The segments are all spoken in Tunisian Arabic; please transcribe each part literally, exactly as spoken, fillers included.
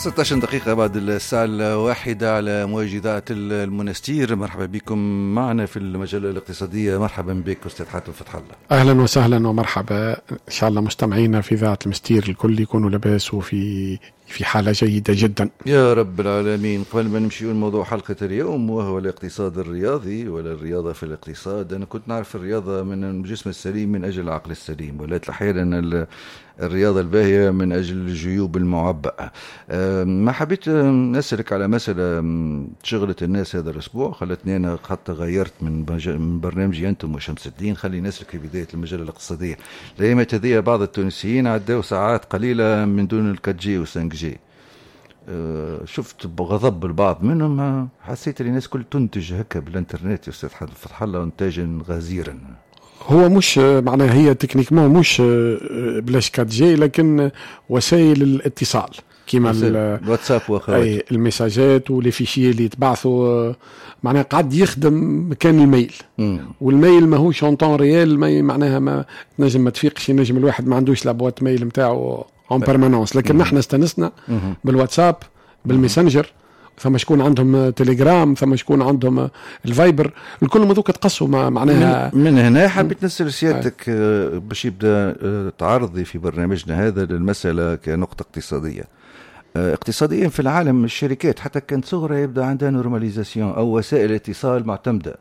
ستة عشر دقيقة بعد الساعة الواحدة على موجة إذاعة المنستير. مرحبا بكم معنا في المجلة الاقتصادية. مرحبا بك أستاذ حاتم فتح الله. أهلا وسهلا ومرحبا. إن شاء الله مستمعينا في إذاعة المستير الكل يكونوا لاباس وفي في حالة جيدة جدا. يا رب العالمين. قبل ما نمشي لموضوع حلقة اليوم وهو الاقتصاد الرياضي ولا الرياضة في الاقتصاد، أنا كنت نعرف الرياضة من الجسم السليم من أجل العقل السليم، ولكن أحيانا الرياضة الباهية من أجل الجيوب المعبأة. ما حبيت نسألك على مسألة شغلت الناس هذا الأسبوع، خلتني أنا حتى غيرت من من برنامجي أنتم وشمس الدين. خليني نسألك في بداية المجلة الاقتصادية، الأيامات هذه بعض التونسيين عداو ساعات قليلة من دون ال quatre G و cinq G. شفت بغضب البعض منهم، حسيت ان الناس كل تنتج هكا بالانترنت يا استاذ فتح الله انتاجا غزيرا. هو مش معناها هي techniquement مش بلاش quatre G، لكن وسائل الاتصال كيما الواتساب واخواته، المساجات و les fichiers اللي يتبعثوا، معناها قعد يخدم مكان ال mail. مم. وال mail ماهوش en temps réel، معناها ما تنجم ما تفيقش، ينجم الواحد ما عندوش la boîte mail نتاعو en permanence. لكن نحن استنسنا بالواتساب، بالميسنجر، ثم شكون عندهم تليجرام، ثم شكون عندهم الفايبر، الكل هذوك تقصوا معناها. من, من هنا حبيت نسال سيادتك آه، باش يبدا آه، تعرضي في برنامجنا هذا للمسالة كنقطه اقتصاديه. آه، اقتصاديا في العالم الشركات حتى كانت صغرى يبدا عندها normalisation او وسائل اتصال معتمدة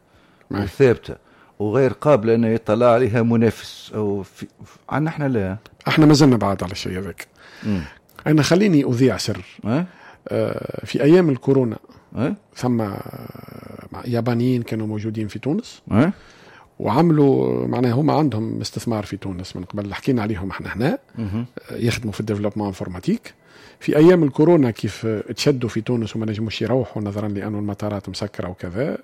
وثابتة وغير قابله ان يطلع عليها منافس او في عندنا احنا لا. احنا ما زلنا بعد على الشيء هذاك. انا خليني اذيع سر. أه؟ آه، في ايام الكورونا أه؟ ثم يابانيين كانوا موجودين في تونس أه؟ وعملوا معناها هما عندهم استثمار في تونس من قبل، حكينا عليهم احنا هنا، يخدموا في ال développement informatique. في ايام الكورونا كيف تشدوا في تونس وما نجموش يروحوا نظرا لانه المطارات مسكره وكذا،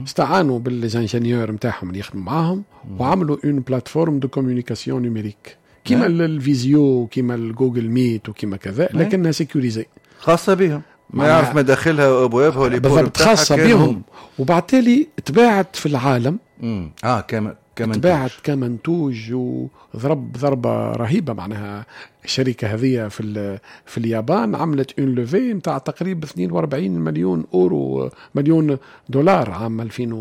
استعانوا بال les ingénieurs نتاعهم اللي يخدموا معاهم وعملوا une plateforme de communication numérique كيما ال Visio، كيما ال Google Meet وكيما كذا، لكنها sécurisée. خاصة بهم، ما يعرف مداخلها وابوابها. بالضبط، خاصة بهم، وبعد تالي تباعت في العالم. مم. اه كما كمنتوج، تباعت كمنتوج وضرب ضربه رهيبه. معناها الشركة هذه في في اليابان عملت une levée نتاع تقريبا اثنين وأربعين مليون اورو، مليون دولار عام ألفين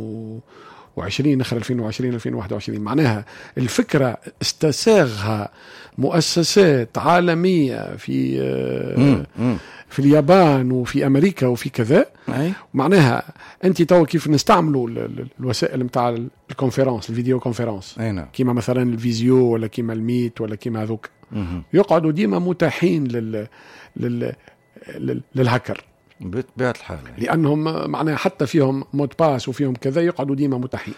وعشرين، اخر ألفين وعشرين، ألفين وواحد وعشرين. معناها الفكرة استساغها مؤسسات عالمية في مم. مم. في اليابان وفي امريكا وفي كذا. أي. معناها انت تو كيف نستعملوا الوسائل نتاع ال conférence، ال vidéoconférence، اي نعم كيما مثلا ال Visio ولا كيما ال Meet ولا كيما هذوك، يقعدوا ديما متاحين لل لل للهاكر. بطبيعة الحال. لانهم معناها حتى فيهم mot de passe وفيهم كذا، يقعدوا ديما متاحين.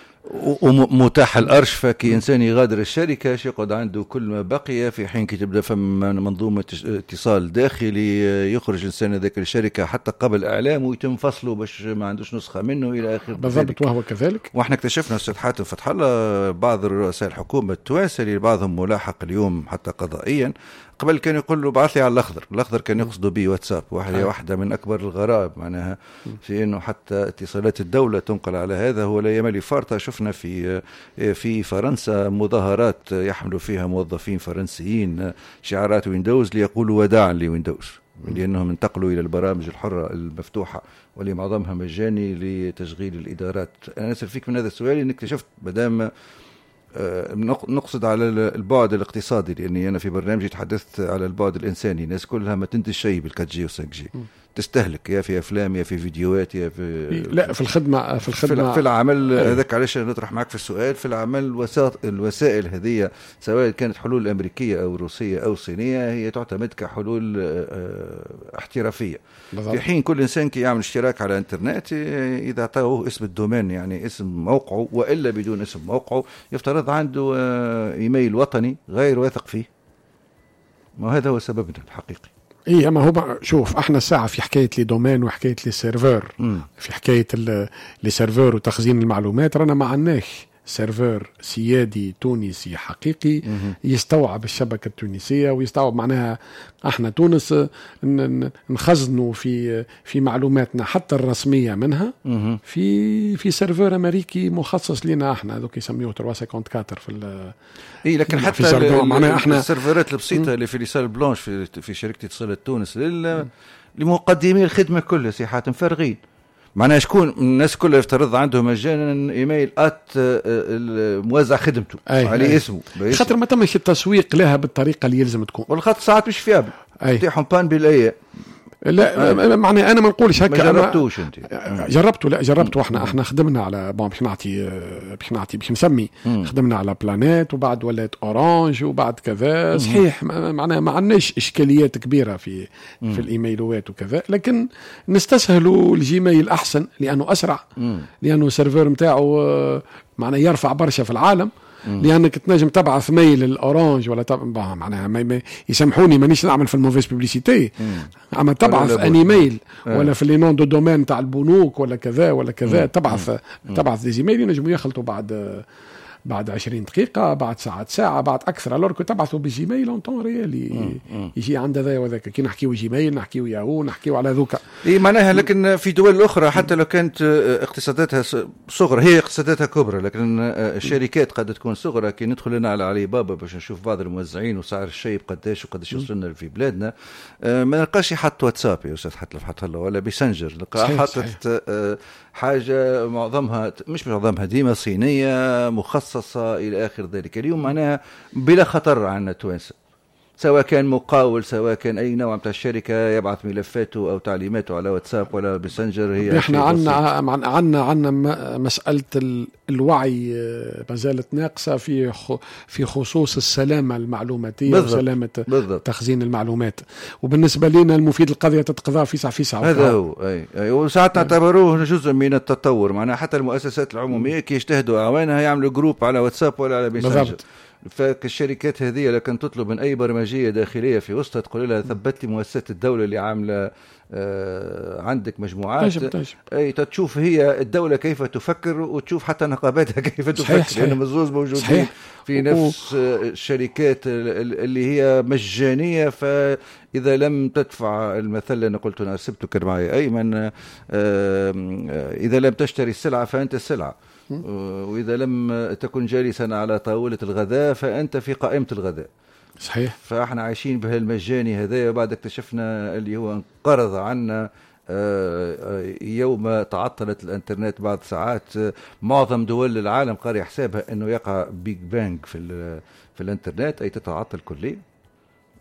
ومتاح الارشفه، كي انسان يغادر الشركة يقعد عنده كل ما بقي، في حين كي تبدا فما منظومة اتصال داخلي يخرج الانسان هذاك الشركة حتى قبل اعلامه ويتم فصله باش ما عندوش نسخه منه الى اخره. بالضبط، وهو كذلك. واحنا اكتشفنا استاذ حاتم فتح الله بعض رؤساء الحكومة التوانسة اللي بعضهم ملاحق اليوم حتى قضائيا، قبل كان يقول له بعث لي على الاخضر، الاخضر كان يقصدوا به واتساب. واحدة واحدة من اكبر الغرائب معناها في انه حتى اتصالات الدولة تنقل على هذا. هو لا يملي فارطه، شفنا في في فرنسا مظاهرات يحملوا فيها موظفين فرنسيين شعارات ويندوز ليقولوا وداعا لويندوز، لانهم انتقلوا الى البرامج الحرة المفتوحة واللي معظمها مجاني لتشغيل الادارات. انا اسال فيك من هذا السؤال انك اكتشفت مادام آه، نقصد على البعد الاقتصادي، لاني انا في برنامجي تحدثت على البعد الانساني. الناس كلها ما تنتج شيء بال quatre G و cinq G، تستهلك يا في افلام يا في فيديوهات يا في لا، في الخدمه، في الخدمه. في العمل. هذاك علاش نطرح معك في السؤال. في العمل الوسائل هذه سواء كانت حلول امريكية او روسية او صينية هي تعتمد كحلول آه، احترافيه بالضبط. في حين كل انسان كي يعمل اشتراك على الانترنت، اذا اعطوه اسم ال domaine، يعني اسم موقعه والا بدون اسم موقعه، يفترض عنده آه، ايميل وطني غير واثق فيه. ما هذا هو سببنا الحقيقي. اي، اما هو شوف، احنا ساعة في حكاية les domaines وحكاية les serveurs، في حكاية les serveurs وتخزين المعلومات، رانا ما عندناش serveur سيادي تونسي حقيقي يستوعب الشبكة التونسية ويستوعب، معناها احنا تونس نخزنوا في في معلوماتنا حتى الرسمية منها في في serveur امريكي مخصص لنا احنا، هذوك يسميوه ثلاثمية وأربعة وخمسين في اي، لكن حتى معناها احنا السيرفرات البسيطة اللي في les salles blanches في في شركة اتصالات تونس لل لمقدمي الخدمة كلها سي حاتم فارغين. معناها شكون الناس كلها يفترض عندهم مجانا email at موزع خدمته عليه اسمه، خاطر ما تمش التسويق لها بالطريقة اللي يلزم تكون، والخاطر ساعات مش fiable تيحهم panne بالايه. لا آه. معناها انا ما نقولش هكا. ما جربتوش انت؟ جربته، لا جربته. احنا احنا خدمنا على bon باش نعطي باش نعطي باش نسمي مم. خدمنا على بلانيت وبعد ولات اورانج وبعد كذا. صحيح معناها ما عندناش اشكاليات كبيرة في مم. في الايميلوات وكذا، لكن نستسهلوا الجيميل احسن لانه اسرع، مم. لانه ال serveur نتاعو معناها يرفع برشا في العالم. مم. لانك تنجم تبعث mail الاورانج ولا تب... معناها ما يسامحوني مانيش نعمل في ال mauvaise publicité، اما تبعث un email ولا في les noms de domaine تاع البنوك ولا كذا ولا كذا، تبعث مم. تبعث des emails ينجموا يخلطوا بعد بعد عشرين دقيقة، بعد ساعة ساعة، بعد أكثر. alors que تبعثوا بجيميل en temps réel يجي عند هذا وذاك. كي نحكيو جيميل نحكيو ياهو نحكيو على ذوك. إيه معناها. لكن في دول أخرى حتى لو كانت اقتصاداتها صغرى، هي اقتصاداتها كبرى لكن الشركات قد تكون صغرى. كي ندخل لنا على علي بابا باش نشوف بعض الموزعين وسعر الشيء قداش وقداش يوصلنا في بلادنا، ما نلقاش حط واتساب يا أستاذ حتى حتى ولا ميسنجر، نلقى حاطط حاجة معظمها مش معظمها ديما صينية مخصصة إلى آخر ذلك. اليوم معناها بلا خطر عندنا التوانسة، سواء كان مقاول سواء كان أي نوع من الشركة يبعث ملفاته أو تعليماته على واتساب ولا ميسنجر. هي احنا عندنا عندنا عندنا مسألة الوعي ما زالت ناقصة في في خصوص السلامة المعلوماتية وسلامة تخزين المعلومات. وبالنسبة لنا المفيد القضية تتقضى في ساعة في ساعة. هذا هو. أي. أي. وساعات نعتبروه جزء من التطور. معناها حتى المؤسسات العمومية كي يجتهدوا أعوانها يعملوا groupe على واتساب ولا على ميسنجر. فالشركات هذه لكن تطلب من أي برمجية داخلية في وسطها تقول لها ثبت لي مؤسسات الدولة اللي عاملة آه عندك مجموعات. تجب تجب. أي تشوف هي الدولة كيف تفكر وتشوف حتى نقاباتها كيف تفكر، لأنهم الزوز موجودين صحيح. في نفس الشركات اللي هي مجانية. فإذا لم تدفع المثل اللي أنا قلت أنا سبته كان معي أيمن، آه إذا لم تشتري السلعة فأنت السلعة، وإذا لم تكن جالسا على طاولة الغداء فأنت في قائمة الغداء. صحيح. فاحنا عايشين بهالمجاني هذا، وبعد اكتشفنا اللي هو انقرض عنا يوم تعطلت الانترنت بعد ساعات. معظم دول العالم قاري حسابها انه يقع big bang في في الانترنت، اي تتعطل كليا.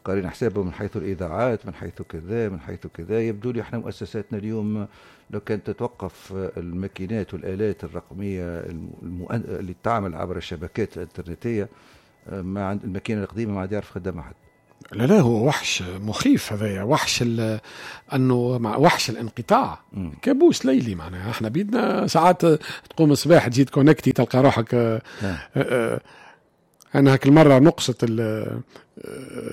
قارين حسابه من حيث الاذاعات، من حيث كذا، من حيث كذا. يبدو لي احنا مؤسساتنا اليوم لو كانت تتوقف الماكينات والآلات الرقمية المؤ... اللي تعمل عبر الشبكات الانترنتية، ما عند الماكينة القديمة ما عاد يعرف خدامها حد. لا لا، هو وحش مخيف هذايا، وحش ال... انه مع وحش الانقطاع. م. كابوس ليلي. معناها احنا بيدنا ساعات تقوم الصباح تجي connecté تلقى روحك. آه آه انا هاك المرة نقصت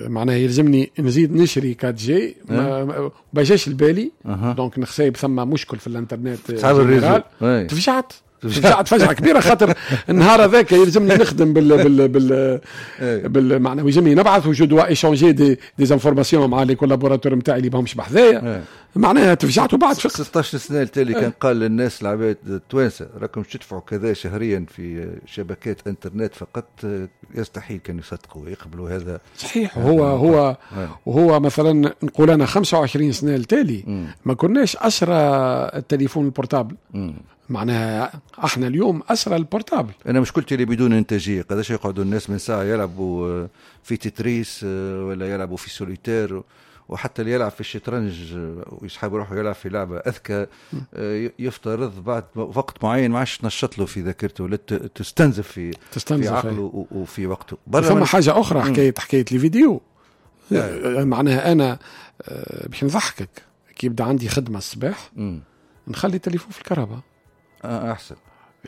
معناها يلزمني نزيد نشري quatre G ما باجاش البالي. أه. donc نخسايب ثم مشكل في الانترنت. تفجعت تفجعت فجعه كبيرة، خاطر النهار هذاك يلزمني نخدم بال بال بال بال معناها يلزمني نبعث و je dois échanger des des informations مع les collaborateurs نتاعي اللي ماهمش بحذايا. معناها تفجعت وبعد فقت. ستة عشر سنة التالي كان قال للناس العباد التوانسة راكم تدفعوا كذا شهريا في شبكات انترنت فقط، يستحيل كانوا يصدقوا ويقبلوا هذا. صحيح. هو هو وهو مثلا نقول انا خمسة وعشرين سنة التالي ما كناش اسرى التليفون ال portable. مم. معناها احنا اليوم اسرى ال portable. انا مشكلتي اللي بدون انتاجية، قداش يقعدوا الناس من ساعة يلعبوا في تتريس ولا يلعبوا في سوليتير، وحتى اللي يلعب في الشطرنج ويسحب روحه يلعب في لعبه اذكى، يفترض بعد وقت معين ما عادش تنشط له في ذاكرته ولا تستنزف في تستنزف في عقله وفي وقته. ثم حاجة اخرى، حكاية حكاية الفيديو. معناها انا باش نضحكك، كي يبدا عندي خدمة الصباح نخلي التليفون في الكهرباء احسن،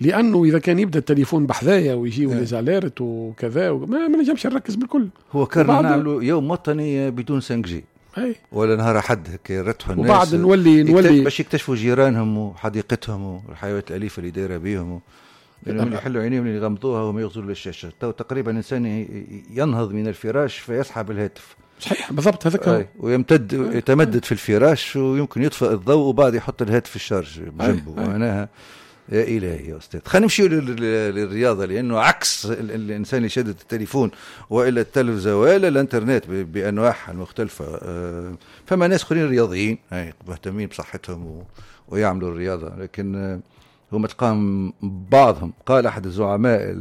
لانه اذا كان يبدا التليفون بحذايا ويجيو les alertes وكذا ما, ما نجمش نركز بالكل. هو كان نعملوا يوم وطني بدون cinq G ولا نهار حد هكا يرتحوا الناس، وبعد نولي نولي باش يكتشفوا جيرانهم وحديقتهم والحيوانات الاليفة اللي دايرة بيهم، لانهم يحلوا عينيهم اللي يغمضوها وما يغزروا للشاشه. تو تقريبا الانسان ينهض من الفراش فيسحب الهاتف. صحيح بالضبط، هذاك ويمتد يتمدد في الفراش ويمكن يطفئ الضوء وبعد يحط الهاتف في ال charge بجنبه. معناها يا الهي يا استاذ، خلينا نمشيو للرياضة، لانه عكس الانسان اللي شادد التليفون والا التلفزة والا الانترنت بانواعها المختلفة. فما ناس اخرين رياضيين مهتمين بصحتهم ويعملوا الرياضة، لكن هم تلقاهم بعضهم. قال احد الزعماء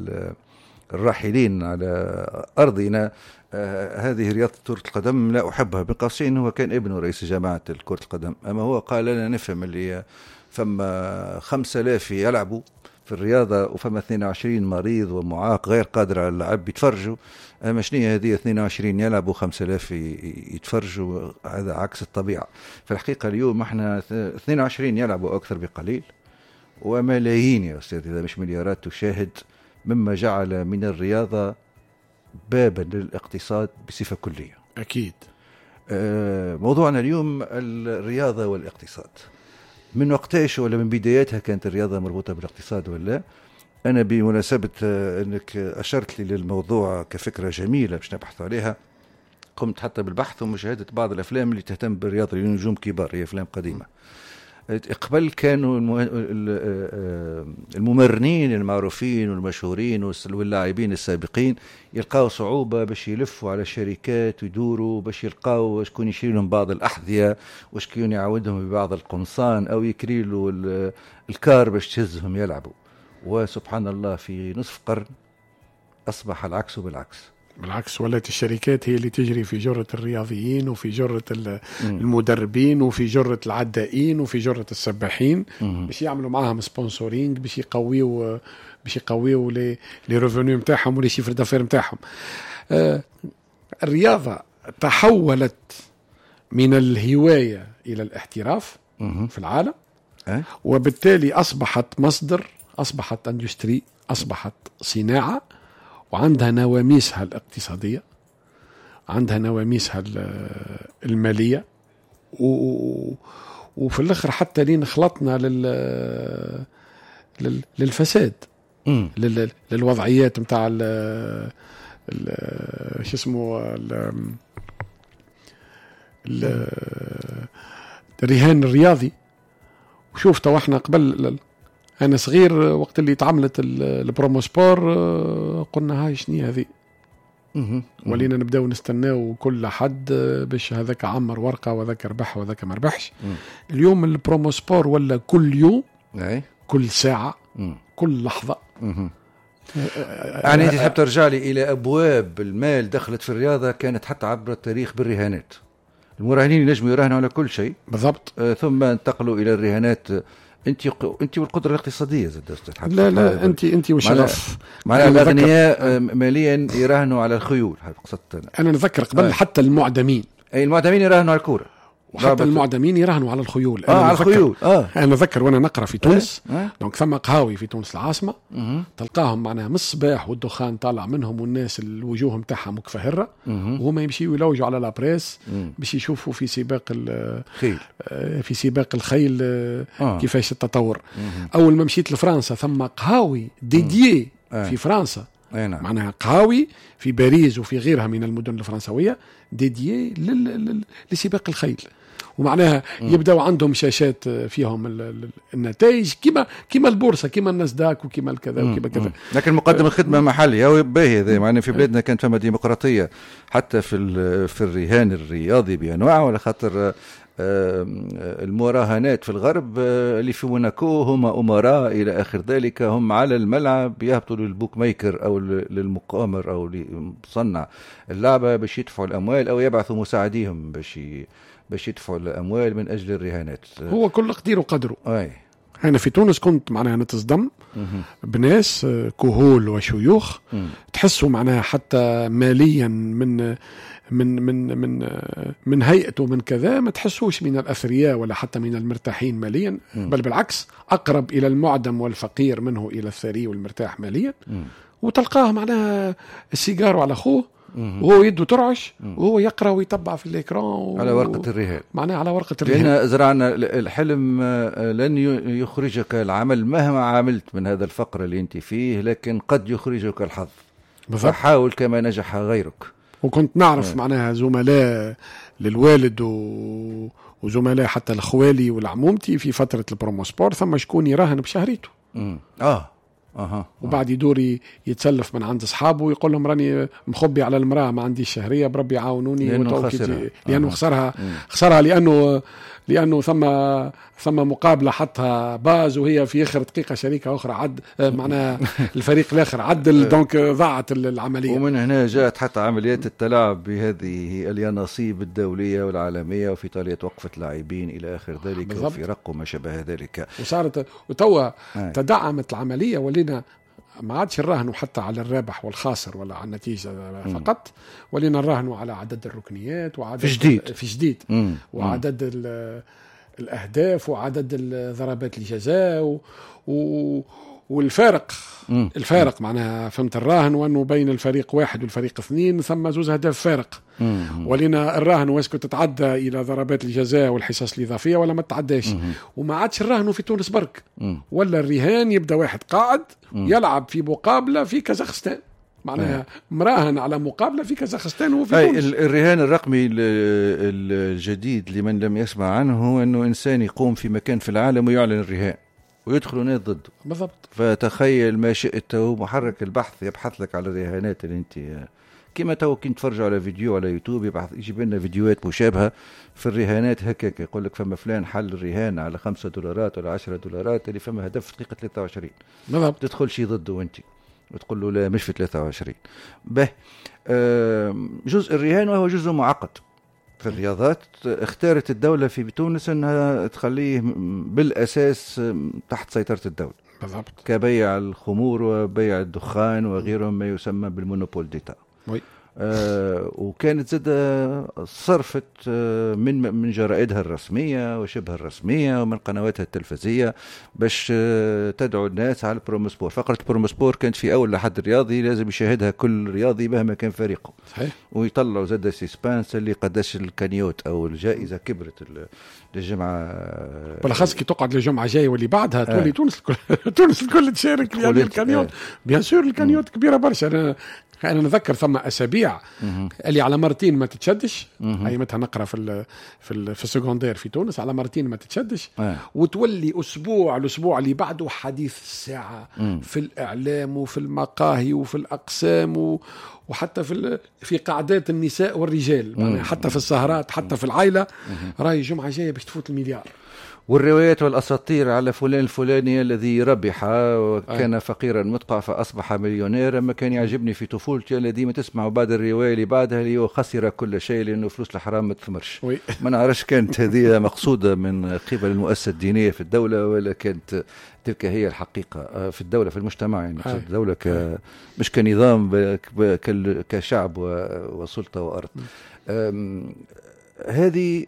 الراحلين على ارضنا آه هذه رياضة كرة القدم لا أحبها، بين قوسين هو كان ابنه رئيس جامعة كرة القدم، أما هو قال لنا نفهم اللي فما خمسة آلاف يلعبوا في الرياضة وفما اثنين وعشرين مريض ومعاق غير قادر على اللعب يتفرجوا، أما شنو هذه اثنين وعشرين يلعبوا خمسة آلاف يتفرجوا؟ هذا عكس الطبيعة. في الحقيقة اليوم احنا اثنين وعشرين يلعبوا أكثر بقليل، وملايين يا أستاذ إذا مش مليارات تشاهد، مما جعل من الرياضة بابا للاقتصاد بصفة كلية. أكيد. موضوعنا اليوم الرياضة والاقتصاد. من وقتاش ولا من بداياتها كانت الرياضة مربوطة بالاقتصاد ولا؟ أنا بمناسبة أنك أشرت لي للموضوع كفكرة جميلة باش نبحث عليها، قمت حتى بالبحث ومشاهدة بعض الأفلام اللي تهتم بالرياضة لنجوم كبار، هي أفلام قديمة. قبل كانوا الممرنين المعروفين والمشهورين واللاعبين السابقين يلقاو صعوبة باش يلفوا على الشركات ويدوروا باش يلقاو شكون يشري لهم بعض الأحذية وشكون يعاودهم ببعض القمصان أو يكري له الكار باش تهزهم يلعبوا. وسبحان الله في نصف قرن أصبح العكس بالعكس. بالعكس، ولات الشركات هي اللي تجري في جرة الرياضيين وفي جرة المدربين وفي جرة العدائين وفي جرة السباحين باش يعملوا معاهم sponsoring، باش يقويوا باش يقويوا les les revenus نتاعهم و les chiffres d'affaires نتاعهم. آه الرياضة تحولت من الهواية إلى الاحتراف في العالم، أه؟ وبالتالي أصبحت مصدر، أصبحت industrie، أصبحت صناعة، وعندها نواميسها الاقتصادية، عندها نواميسها المالية، و... وفي الآخر حتى لين خلطنا لل... لل... للفساد، لل... للوضعيات متاع ال... ال... شو اسمه ال... ال... الرهان الرياضي. وشوف تو احنا قبل، أنا صغير وقت اللي تعملت البروموسبور قلنا هاي شني هذه، ولينا نبداو نستناو كل حد باش هذاك عمر ورقة وذاك ربح وذاك ما ربحش. اليوم البروموسبور ولا كل يوم، كل ساعة، كل لحظة. يعني أنت تحب ترجع لي إلى أبواب المال دخلت في الرياضة كانت حتى عبر التاريخ بالرهانات. المراهنين ينجموا يراهنوا على كل شيء بالضبط، ثم انتقلوا إلى الرهانات. انت انت والقدرة الاقتصادية زاد استاذ. لا لا، انت انت والشغف. معناها الاغنياء ماليا يراهنوا على الخيول، هذا قصدت انا. انا نذكر قبل آه. حتى المعدمين، اي المعدمين يراهنوا على الكورة، وحتى المعدمين يراهنوا على الخيول. أنا آه على الخيول. آه. انا نذكر وانا نقرا في تونس، آه. donc ثم قهاوي في تونس العاصمة، مه. تلقاهم معناها من الصباح والدخان طالع منهم والناس الوجوه نتاعها مكفهره، وهما يمشيوا يلوجوا على la presse باش يشوفوا في سباق الخيل، في سباق الخيل آه. كيفاش التطور. مه. اول ما مشيت لفرنسا ثم قهاوي dédiées آه. في فرنسا، نعم. معناها قهاوي في باريس وفي غيرها من المدن الفرنسوية dédiées لل... لسباق الخيل، ومعناها يبداو عندهم شاشات فيهم النتائج كما كما البورصة، كما الناسداك وكما الكذا وكما كذا. لكن مقدم الخدمة محلي باهي هذا، معناها في بلادنا كانت فما ديمقراطية حتى في في الرهان الرياضي بانواعه، ولا خاطر المراهنات في الغرب اللي في موناكو هم أمراء إلى آخر ذلك، هم على الملعب يهبطوا لل bookmaker أو للمقامر أو لمصنع اللعبة باش يدفعوا الأموال، أو يبعثوا مساعديهم باش باش يدفعوا الأموال من أجل الرهانات. هو كل قدير وقدره. أي. أنا في تونس كنت معناها نتصدم بناس كهول وشيوخ تحسوا معناها حتى ماليا من من من من من هيئته من كذا، ما تحسوش من الأثرياء ولا حتى من المرتاحين ماليا، بل بالعكس أقرب إلى المعدم والفقير منه إلى الثري والمرتاح ماليا. وتلقاه معناها السيجار على أخوه وهو يده ترعش وهو يقرأ ويتبع في ال écran و... على ورقة الرهان، معناها على ورقة الرهان. لأن زرعنا الحلم لن يخرجك العمل مهما عملت من هذا الفقر اللي أنت فيه، لكن قد يخرجك الحظ. فحاول كما نجح غيرك. وكنت نعرف معناها زملاء للوالد و... وزملاء حتى الخوالي والعمومتي في فترة البروموسبور، ثم شكون يراهن بشهريته. مم. اه اها وبعد يدور يتسلف من عند اصحابه ويقول لهم راني مخبي على المراة، ما عنديش شهرية، بربي يعاونوني. لانه خسرها، لانه خسرها خسرها لانه لانه ثم ثم مقابله حطها باز وهي في اخر دقيقة شركة اخرى عد، معناها الفريق الاخر عدل، donc ضاعت العملية. ومن هنا جاءت حتى عمليات التلاعب بهذه اليانصيب الدولية والعالمية، وفي ايطاليا توقفت لاعبين الى اخر ذلك وفرق وما شابه ذلك. وصارت وتوا تدعمت العملية، ولينا ما عادش نراهنوا حتى على الرابح والخاسر ولا على النتيجة فقط، ولينا نراهنوا على عدد الركنيات وعدد في جديد في جديد مم. وعدد الأهداف وعدد ضربات الجزاء و... و... والفارق مم. الفارق معناها فهمت الراهن، وأنه بين الفريق واحد والفريق اثنين ثم زوز أهداف فارق. ولينا الراهن و est-ce que تتعدى إلى ضربات الجزاء والحصص الإضافية ولا ما تتعداش. وما عادش الراهن في تونس برك، مم. ولا الرهان يبدأ واحد قاعد مم. يلعب في مقابلة في كازاخستان، معناها مراهن على مقابلة في كازاخستان وفي تونس. الرهان الرقمي الجديد لمن لم يسمع عنه أنه إنسان يقوم في مكان في العالم ويعلن الرهان ويدخلوا ناس ضده. بالضبط. فتخيل ما شئت، محرك البحث يبحث لك على الرهانات اللي انت كما تو كي نتفرجوا على فيديو على يوتيوب يبحث يجيب لنا فيديوهات مشابهة في الرهانات هكاك، يقول لك فما فلان حل الرهان على خمسة دولارات ولا عشرة دولارات اللي فما هدف في دقيقة ثلاثة وعشرين. بالضبط. تدخل شي ضده انت وتقول له لا مش في ثلاثة وعشرين. به جزء الرهان وهو جزء معقد في الرياضات، اختارت الدولة في تونس أنها تخليه بالأساس تحت سيطرة الدولة. بالضبط. كبيع الخمور وبيع الدخان وغيرهم ما يسمى بال monopole d'État. oui. آه وكانت زاد صرفت من من جرائدها الرسمية وشبه الرسمية ومن قنواتها التلفزية باش تدعو الناس على البروموسبور. فقرة البروموسبور كانت في أول لحد الرياضي لازم يشاهدها كل رياضي مهما كان فريقه. صحيح. ويطلعوا زاد suspense اللي قداش ال cagnotte أو الجائزة كبرت للجمعة، بالأخص كي تقعد للجمعة جاية واللي بعدها تولي آه. تونس الكل تونس الكل تشارك لأن ال cagnotte آه. bien sûr ال cagnotte كبيرة برشا. أنا انا نذكر ثم اسابيع اللي على مرتين ما تتشدش، ايامتها نقرا في ال في ال في ال secondaire في تونس، على مرتين ما تتشدش آه. وتولي اسبوع الاسبوع اللي بعده حديث الساعة مم. في الاعلام وفي المقاهي وفي الاقسام و وحتى في في قعدات النساء والرجال، يعني حتى في السهرات حتى في العائلة، راهي الجمعة جاية باش تفوت المليار. والروايات والأساطير على فلان الفلاني الذي ربح وكان أي. فقيرا مدقع فأصبح مليونيرا، ما كان يعجبني في طفولتي الذي ما تسمع بعد الرواية اللي بعدها اللي هو خسر كل شيء لأنه فلوس الحرام ما تثمرش. ما نعرفش كانت هذه مقصودة من قبل المؤسسة الدينية في الدولة ولا كانت تلك هي الحقيقة في الدولة في المجتمع، يعني في الدولة ك... مش كنظام كشعب وسلطة وأرض. هذه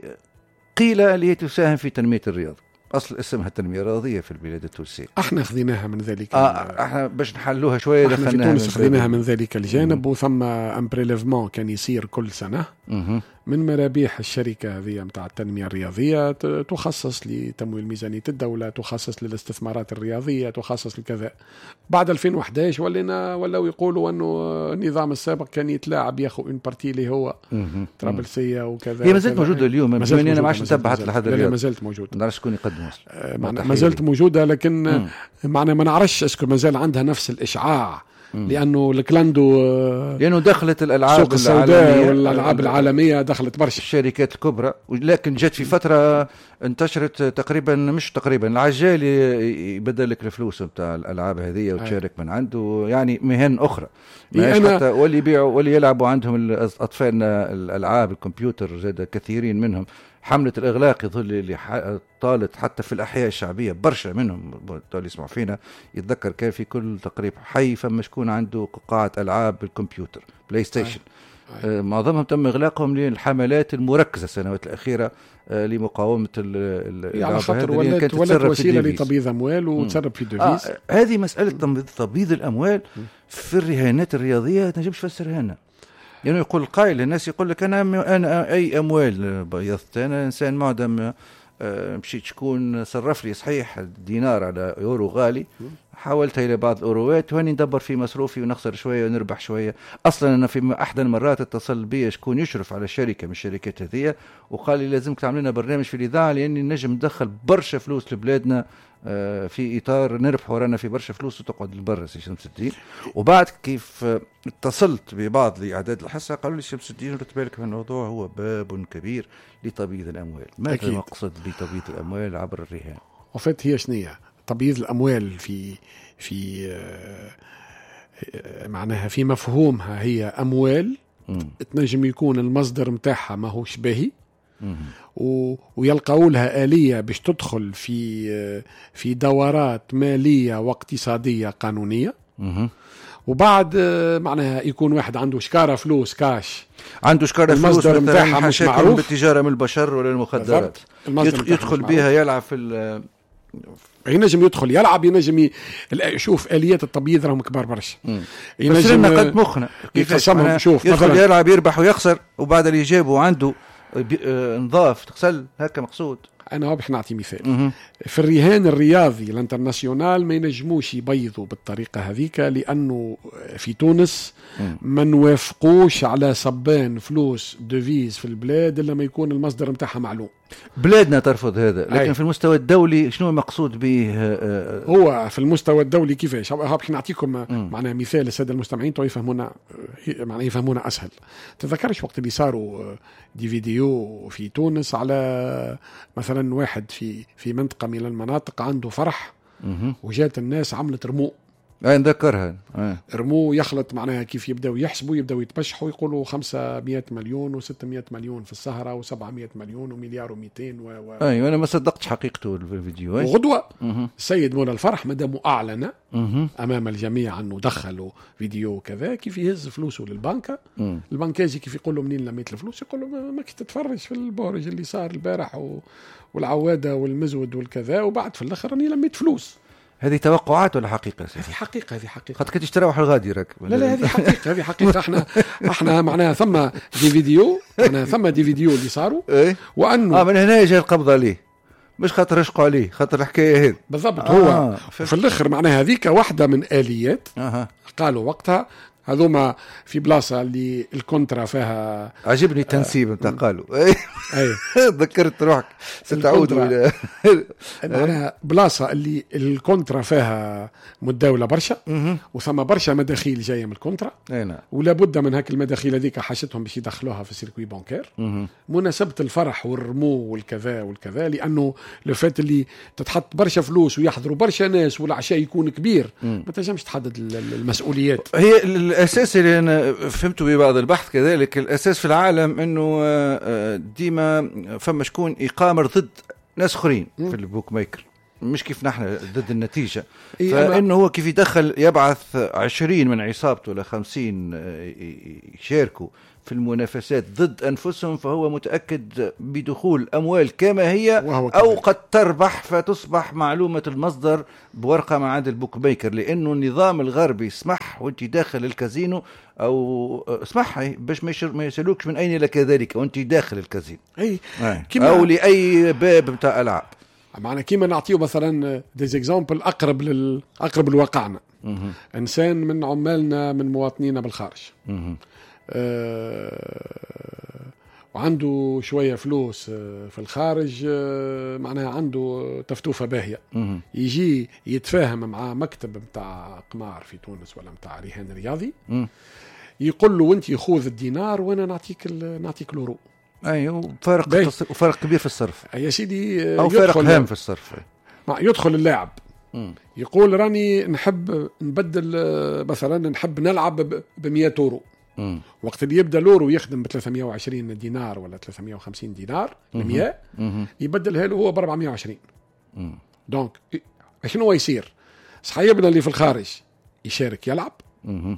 قيل اللي هي تساهم في تنمية الرياضة، أصل اسمها التنمية الرياضية في البلاد التونسية. احنا خذيناها من ذلك آه احنا باش نحلوها شوية احنا في تونس خذيناها من ذلك الجانب. وثم un prélèvement كان يصير كل سنة مم. من مرابيح الشركة هذه متاع التنمية الرياضية تخصص لتمويل ميزانية الدولة، تخصص للاستثمارات الرياضية، تخصص لكذا. بعد ألفين وأحد عشر ولينا ولاو يقولوا أنه النظام السابق كان يتلاعب ياخذ une partie اللي هو طرابلسية وكذا. هي ما زالت موجودة اليوم، أنا ما عادش نتبعت لحد اليوم. ما زالت موجودة، ما نعرفش شكون يقدم أصلا. ما زالت موجودة، لكن معنا ما نعرفش est-ce que ما زال عندها نفس الإشعاع، لانه ال clando لانه دخلت الالعاب السوق السوداء والالعاب العالمية دخلت برشا الشركات الكبرى، لكن جت في فترة انتشرت تقريبا مش تقريبا العجال يبدل لك الفلوس نتاع الالعاب هذه وتشارك من عنده، يعني مهن اخرى أنا حتى واللي يبيعوا واللي يلعبوا عندهم اطفالنا الالعاب الكمبيوتر زاد كثيرين منهم. حملة الإغلاق يظل اللي طالت حتى في الأحياء الشعبية برشا منهم اللي يسمعوا فينا يتذكر كان في كل تقريب حي فما شكون عنده قاعة ألعاب بالكمبيوتر بلاي ستيشن. آه معظمهم تم إغلاقهم للحملات المركزة السنوات الأخيرة آه لمقاومة ال على خاطر ولات ولات وسيلة لتبييض أموال وتسرب في devises. آه هذه مسألة تبييض الأموال في الرهانات الرياضية تنجمش تفسرها لنا. يعني يقول القائل الناس يقول لك أنا أنا أي أموال بيضت، أنا إنسان معدم مشيت شكون صرف لي صحيح دينار على يورو غالي، حاولتها إلى بعض الأوروات وأني ندبر في مصروفي ونخسر شوية ونربح شوية. أصلا أنا في أحد المرات اتصل بي شكون يشرف على شركة من الشركات هذه وقال لي لازمك تعمل لنا برنامج في الإذاعة لأني نجم ندخل برشا فلوس لبلادنا في اطار نربح ورانا في برشا فلوس وتقعد لبرا سي شمس الدين. وبعد كيف اتصلت ببعض لاعداد الحصة قالوا لي شمس الدين رد بالك من الموضوع، هو باب كبير لتبييض الاموال. ماذا المقصد بتبييض الاموال عبر الرهان؟ وفات هي شنية تبييض الاموال في في معناها في مفهومها هي اموال تنجم يكون المصدر متاعها ماهوش باهي و... ويلقاو لها آلية باش تدخل في في دورات مالية واقتصادية قانونية. مم. وبعد معناها يكون واحد عنده شكارة فلوس كاش، عنده شكارة فلوس المصدر متاعها مش معروف، بالتجارة من البشر ولا المخدرات، يدخل, يدخل بها يلعب في ال... ينجم يدخل يلعب، ينجم ي... شوف آليات التبييض راهم كبار برشا. ينجم قد مخنا كيفاش شوف يدخل يلعب يربح ويخسر، وبعد اللي جابه عنده نظاف تغسل هكا مقصود. انا باش نعطي مثال. مه. في الرهان الرياضي ال international ما ينجموش يبيضوا بالطريقة هذيك، لانه في تونس ما نوافقوش على صبان فلوس devises في البلاد الا ما يكون المصدر نتاعها معلوم. بلادنا ترفض هذا، لكن أي. في المستوى الدولي شنو المقصود به؟ هو في المستوى الدولي كيفاش؟ باش نعطيكم معناها مثال السادة المستمعين تو يفهمونا، معناها يفهمونا اسهل. تذكرش وقت اللي صاروا des vidéos في تونس على مثلا واحد في في منطقة من المناطق عنده فرح وجات الناس عملت رمو. اي نذكرها. رمو يخلط معناها كيف يبداو يحسبوا يبداو يتبشحوا يقولوا خمسمية مليون وستمية مليون في السهرة وسبعمية مليون ومليار ومئتين و, و... ايوه انا ما صدقتش حقيقته الفيديو. وغدوه السيد مولى الفرح مادام اعلن امام الجميع انه دخلوا فيديو كذا، كيف يهز فلوسه للبنكه، البنكاجي كيف يقول له منين لميت الفلوس؟ يقول له ما كنت تتفرج في البورج اللي صار البارح و... والعواده والمزود والكذا، وبعد في الاخر راني لميت فلوس. هذه توقعات ولا حقيقة؟ هذه حقيقة، هذه حقيقة. خاطر كنت تروح الغادي راك. لا لا هذه حقيقة، هذه حقيقة. احنا احنا معناها ثم des vidéos، معناها ثم des vidéos اللي صاروا. إيه؟ وانه اه من هنا جاء القبض عليه، مش خاطر رشقوا عليه، خاطر الحكاية هذه بالضبط. آه. هو في الاخر معناها هذيك واحدة من آليات. آه. قالوا وقتها هذوما في بلاصة اللي ال contrat فيها. عجبني التنسيب نتاع قالوا. اي ذكرت روحك ستعود الى معناها بلاصة اللي ال contrat فيها متداوله برشا وثم برشا مداخيل جاية من ال contrat، اي نعم، ولا بد من هاك المداخيل هذيك حاجتهم باش يدخلوها في ال circuit bancaire. مناسبة الفرح والرمو والكذا والكذا، لانه لو فات اللي تتحط برشا فلوس ويحضروا برشا ناس والعشاء يكون كبير، ما تنجمش تحدد المسؤوليات. هي الأساس اللي أنا فهمته ببعض البحث كذلك، الأساس في العالم أنه ديما فما شكون يقامر ضد ناس آخرين في ال bookmaker، مش كيف نحن ضد النتيجة. فإنه هو كيف يدخل يبعث عشرين من عصابته ولا خمسين يشاركوا في المنافسات ضد أنفسهم، فهو متأكد بدخول أموال كما هي أو قد تربح، فتصبح معلومة المصدر بورقة مع عند ال bookmaker، لأنه النظام الغربي سمح وانت داخل الكازينو أو اسمح باش ما يسألوكش من أين لك ذلك وانت داخل الكازينو. أي. أو لأي باب متاع ألعاب. معنا كيما نعطيه مثلا des exemples أقرب لل... أقرب لواقعنا. إنسان من عمالنا من مواطنينا بالخارج. مه. أه وعنده شوية فلوس في الخارج، معناها عنده تفتوفة باهية. مه. يجي يتفاهم مع مكتب متاع قمار في تونس ولا متاع رهان رياضي. مه. يقول له وانت خذ الدينار وانا نعطيك نعطيك l'euro. ايوه، فرق وفرق كبير في الصرف يا سيدي، او فرق هام في الصرف. يدخل اللاعب مم. يقول راني نحب نبدل مثلا، نحب نلعب ب مية اورو. مم. وقت اللي يبدا l'euro يخدم ب ثلاثمية وعشرين دينار ولا ثلاثمية وخمسين دينار، مية يبدلها له هو ب أربعمية وعشرين. مم. donc شنو يصير؟ صحيبنا اللي في الخارج يشارك يلعب. مم.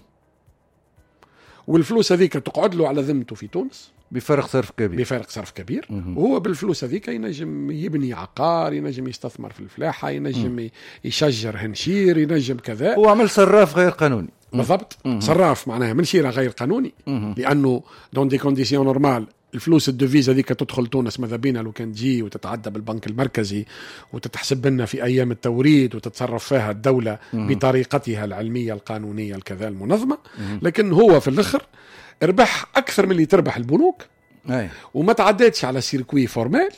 والفلوس هذيك تقعد له على ذمته في تونس بفارق صرف كبير، بفارق صرف كبير. وهو بالفلوس هذيك ينجم يبني عقار، ينجم يستثمر في الفلاحة، ينجم يشجر هنشير، ينجم كذا. هو عمل صراف غير قانوني بالضبط. صراف معناها من شيرة غير قانوني. مم. لأنه dans des conditions normales الفلوس ال devises هذيك تدخل تونس ماذا بينا لو كان تجي وتتعدى بالبنك المركزي وتتحسب لنا في أيام التوريد وتتصرف فيها الدولة مم. بطريقتها العلمية القانونية الكذا المنظمة. مم. لكن هو في الآخر ربح أكثر من اللي تربح البنوك. أي. وما تعداتش على circuit formel،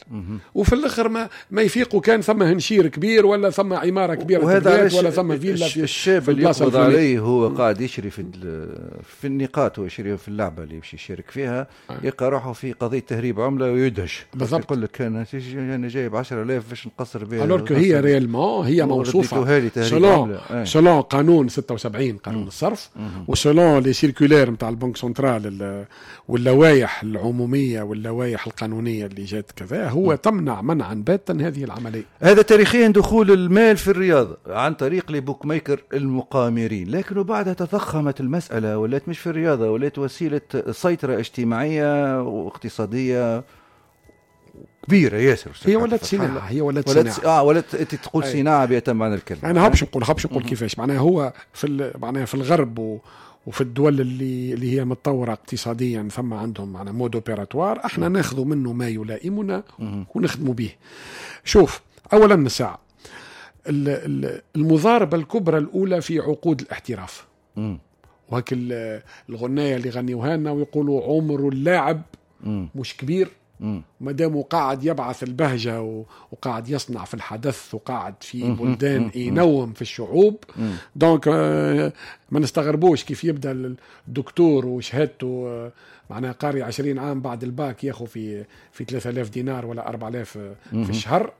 وفي الاخر ما ما يفيقوا كان ثم هنشير كبير ولا ثم عمارة كبيرة وهذا ولا ثم فيلا في الشاب اللي يقبض عليه هو قاعد يشري في في النقاط ويشري في اللعبة اللي يمشي يشارك فيها، يلقى روحه في قضية تهريب عمله ويدهش. بالضبط. يقول لك انا انا جايب عشرة آلاف باش نقصر بها، alors que هي réellement هي موصوفة selon selon قانون ستة وسبعين قانون الصرف، و selon les circulaires نتاع ال banque centrale واللوائح العمومية واللوائح القانونية اللي جات كذا، هو تمنع منعا باتا هذه العملية. هذا تاريخيا دخول المال في الرياضة عن طريق les bookmakers المقامرين، لكن بعدها تضخمت المسالة ولات مش في الرياضة، ولات وسيلة سيطرة اجتماعية واقتصادية كبيرة ياسر. هي ولات صناعة، هي ولات صناعة. اه ولات انت تقول صناعة بأتم معنى الكلمة. انا هبش نقول هبش نقول كيفاش معناها هو في معناها في الغرب و وفي الدول اللي اللي هي متطورة اقتصاديا ثم عندهم معنا mode opératoire، احنا ناخذ منه ما يلائمنا ونخدموا به. شوف اولا الساعة المضاربة الكبرى الاولى في عقود الاحتراف، وهك الغنايه اللي غنيوها لنا ويقولوا عمر اللاعب مش كبير ما دام قاعد يبعث البهجة وقاعد يصنع في الحدث وقاعد في بلدان ينوم في الشعوب. donc ما نستغربوش كيف يبدا الدكتور وشهادته معناها قاري عشرين عام بعد الباك ياخذ في في ثلاثة آلاف دينار ولا أربعة آلاف في الشهر،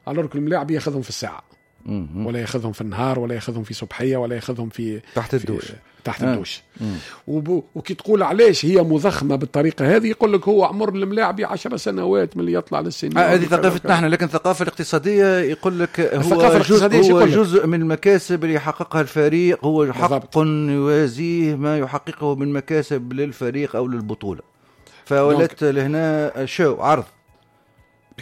alors الملاعب ياخذهم في الساعة ولا ياخذهم في النهار ولا ياخذهم في صبحيه ولا ياخذهم في تحت الدوش تحت آه. الدوش. وكي تقول علاش هي مضخمه بالطريقة هذه، يقول لك هو عمر الملاعب عشر سنوات من اللي يطلع للسن. آه هذه ثقافتنا احنا، لكن الثقافة الاقتصادية يقول لك هو جزء, هو جزء من المكاسب اللي يحققها الفريق، هو حق يوازيه ما يحققه من مكاسب للفريق او للبطولة، فولت لهنا show عرض.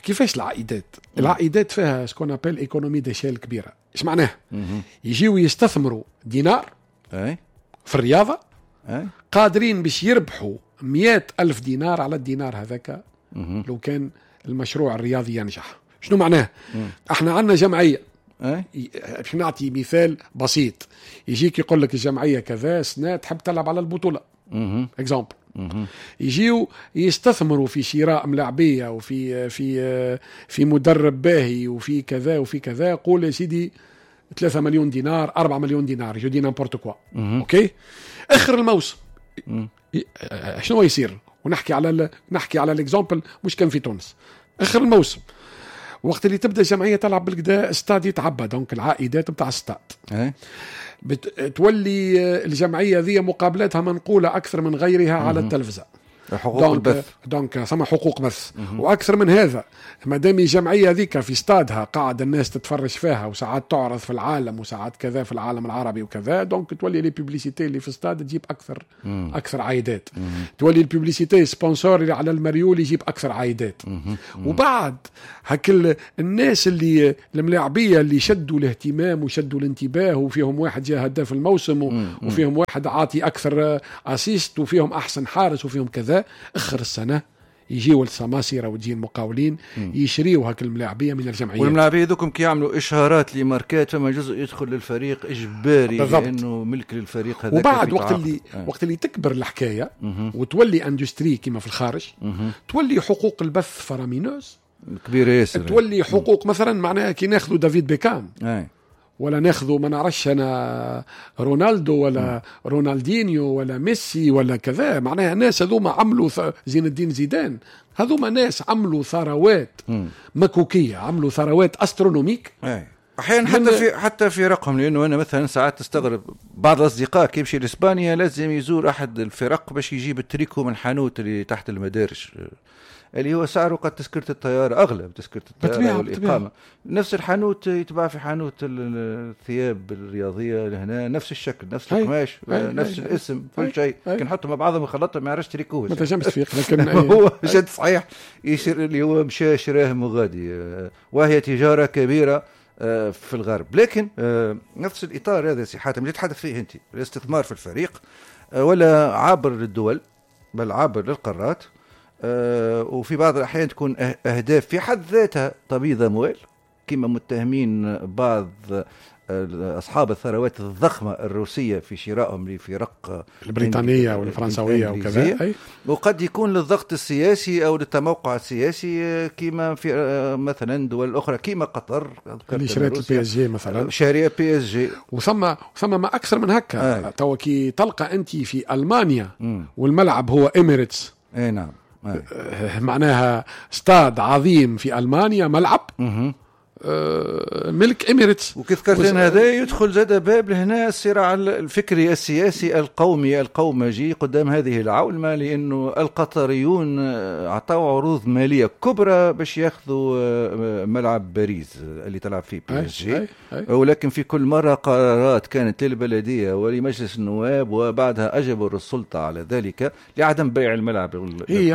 كيفاش العائدات؟ العائدات فيها ce qu'on appelle économie d'échelle كبيرة. ايش معناها؟ يجيو يستثمروا دينار أي؟ في الرياضة أي؟ قادرين باش يربحوا مئة ألف دينار على الدينار هذاك لو كان المشروع الرياضي ينجح. شنو معناه؟ مم. احنا عندنا جمعية، باش نعطي مثال بسيط، يجيك يقول لك الجمعية كذا سنة تحب تلعب على البطولة exemple، يجيو يستثمروا في شراء ملاعبيه وفي في في مدرب باهي وفي كذا وفي كذا، قول يا سيدي ثلاثة مليون دينار أربعة مليون دينار، je dis n'importe quoi. OK، اخر الموسم شنو يصير؟ ونحكي على ال... نحكي على l'exemple مش كان في تونس. اخر الموسم وقت اللي تبدا الجمعية تلعب بالكدا ستاد يتعبى، donc العائدات نتاع الستاد بت... تولي الجمعية ذي مقابلاتها منقوله اكثر من غيرها على التلفزة، حقوق البث، donc ثم حقوق بث. واكثر من هذا، ما دام الجمعية ذيك في استادها قاعد الناس تتفرج فيها وساعات تعرض في العالم وساعات كذا في العالم العربي وكذا، donc تولي les publicités اللي في استاد تجيب اكثر مم. اكثر عائدات، تولي ال publicité sponsor اللي على المريول يجيب اكثر عائدات. مم. وبعد هك الناس اللي الملاعبيه اللي شدوا الاهتمام وشدوا الانتباه، وفيهم واحد جاء هداف الموسم وفيهم واحد عاطي اكثر assist وفيهم احسن حارس وفيهم كذا، اخر السنة يجيو السماسره وتجي المقاولين يشريوا هاك الملاعبيه من الجمعيات. والملاعبيه ذوكم كي يعملوا اشهارات لماركات فما جزء يدخل للفريق اجباري بالضبط. لانه ملك للفريق هذاك. وبعد وقت اللي آه. وقت اللي تكبر الحكاية مم. وتولي industrie كما في الخارج، مم. تولي حقوق البث faramineuse كبيرة ياسر، تولي حقوق مم. مثلا معناها كي ناخذوا دافيد بيكام آه. ولا ناخذوا ما نعرفش انا رونالدو ولا م. رونالدينيو ولا ميسي ولا كذا، معناها ناس هذوما عملوا زين الدين زيدان، هذوما ناس عملوا ثروات مكوكيه، عملوا ثروات astronomiques احيانا حتى في حتى في رقم. لانه انا مثلا ساعات تستغرب بعض الاصدقاء كي يمشي لاسبانيا لازم يزور احد الفرق باش يجيب التريكو من حانوت اللي تحت المدارج، اللي هو سعره قد تذكرة الطيارة أغلى بتذكرة الطيارة والإقامة. نفس الحانوت يتباع في حانوت الثياب الرياضية لهنا، نفس الشكل نفس القماش نفس الاسم كل شيء، كي نحطهم مع بعضهم وخلطهم ما يعرفش تريكوه، ما تنجمش تفيق. لكن هو جد صحيح يشير اللي هو مشى شراه مغادي، وهي تجارة كبيرة في الغرب. لكن نفس الإطار هذا سي حاتم اللي تحدث فيه أنت، الاستثمار في الفريق ولا عابر للدول بل عابر للقارات، أه وفي بعض الأحيان تكون أهداف في حد ذاتها تبيض أموال، كما متهمين بعض اصحاب الثروات الضخمة الروسية في شرائهم لفرق البريطانية والفرنسويه وكذا. أي. وقد يكون للضغط السياسي او للتموقع السياسي، كما في مثلا دول اخرى كما قطر اللي شريت ال PSG مثلا. شاريه PSG. وثم ثم ما اكثر من هكا. توا كي تلقى انت في المانيا م. والملعب هو اميريتس. اي نعم. أي. معناها استاد عظيم في المانيا، ملعب م. ملك اميريتس. وكيف ذكرت هذا يدخل زاد باب لهنا الصراع الفكري السياسي القومي القومجي قدام هذه العولمه، لانه القطريون اعطوا عروض ماليه كبرى باش ياخذوا ملعب باريس اللي تلعب فيه PSG، ولكن في كل مرة قرارات كانت للبلديه ولمجلس النواب، وبعدها اجبروا السلطة على ذلك لعدم بيع الملعب القطري،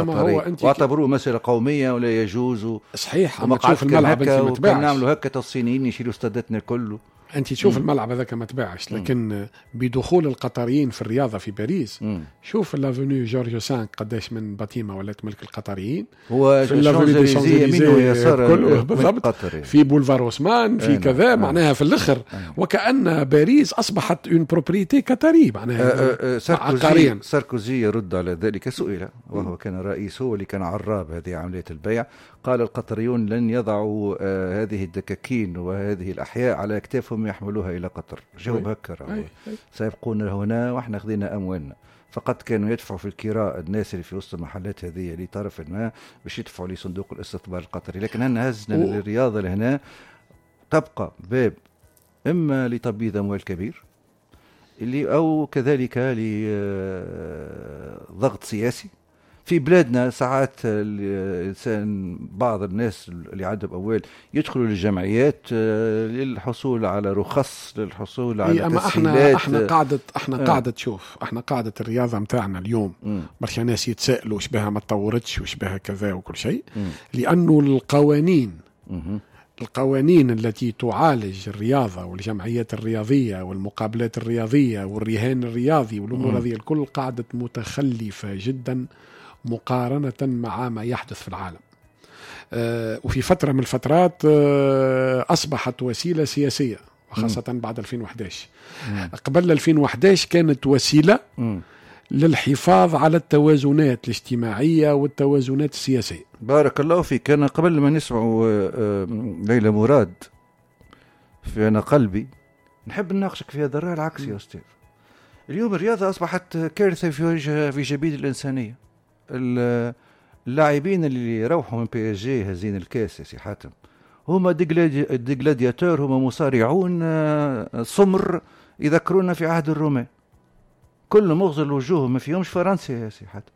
واعتبروه مسالة قومية ولا يجوز. صحيح، اما تشوف الملعب انت ما تباعش. نعملوا هكا الصينيين يشيلوا استاداتنا كله. انت تشوف مم. الملعب هذاك ما تباعش، لكن بدخول القطريين في الرياضة في باريس، مم. شوف l'avenue George خمسة قداش من bâtiment ولات ملك القطريين. هو في l'avenue des Champs-Élysées بالضبط، في boulevard Haussmann، في كذا، معناها في الاخر وكأن باريس اصبحت une propriété qatarie معناها. ساركوزي, ساركوزي يرد على ذلك، سئل وهو كان رئيس، هو اللي كان عراب هذه عملية البيع، قال القطريون لن يضعوا هذه الدكاكين وهذه الأحياء على أكتافهم يحملوها إلى قطر. جاوب هكا، سيبقون هنا وإحنا خذينا أموالنا. فقط كانوا يدفعوا في الكراء الناس اللي في وسط المحلات هذه لطرف ما باش يدفعوا لصندوق الاستثمار القطري. لكن أنا هزنا و... للرياضة لهنا تبقى باب إما لتبييض أموال كبير اللي أو كذلك لضغط سياسي في بلادنا. ساعات الإنسان بعض الناس اللي عندهم أموال يدخلوا للجمعيات للحصول على رخص، للحصول على أما تسهيلات. احنا احنا قاعدة احنا آه. قاعدة شوف احنا قاعدة الرياضة متاعنا اليوم برشا ناس يتسائلوا وش بها ما تطورتش وش بها كذا وكل شيء، لأنه القوانين مم. القوانين التي تعالج الرياضة والجمعيات الرياضية والمقابلات الرياضية والرهان الرياضي والأمور هذه الكل قاعدة متخلفة جدا مقارنة مع ما يحدث في العالم. أه وفي فترة من الفترات أه أصبحت وسيلة سياسية، وخاصة م. بعد ألفين وأحد عشر. م. قبل ألفين وأحد عشر كانت وسيلة م. للحفاظ على التوازنات الاجتماعية والتوازنات السياسية. بارك الله فيك. أنا قبل ما نسمع ليلى مراد في أنا قلبي نحب نناقشك في هذا الرأي العكسي يا أستاذ. اليوم الرياضة أصبحت كارثة في وجه في جبين الإنسانية. اللاعبين اللي روحوا من PSG هزين الكاس يا سي حاتم هما des gladiateurs، هما مصارعون سمر يذكرونا في عهد الرومان، كلهم مغزل وجوههم ما فيهمش فرنسا يا سي حاتم،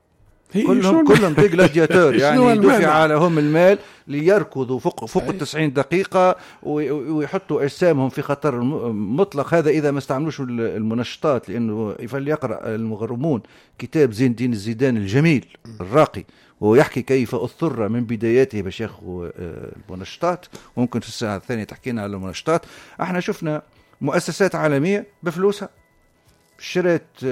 كلهم كلهم des gladiateurs، يعني دفع لهم المال ليركضوا فوق فوق التسعين دقيقة ويحطوا أجسامهم في خطر مطلق. هذا إذا ما استعملوش المنشطات، لأنه فليقرأ المغرمون كتاب زين الدين الزيدان الجميل الراقي، ويحكي كيف اضطر من بداياته باش ياخذ المنشطات. وممكن في الساعة الثانية تحكينا على المنشطات. احنا شفنا مؤسسات عالمية بفلوسها شرت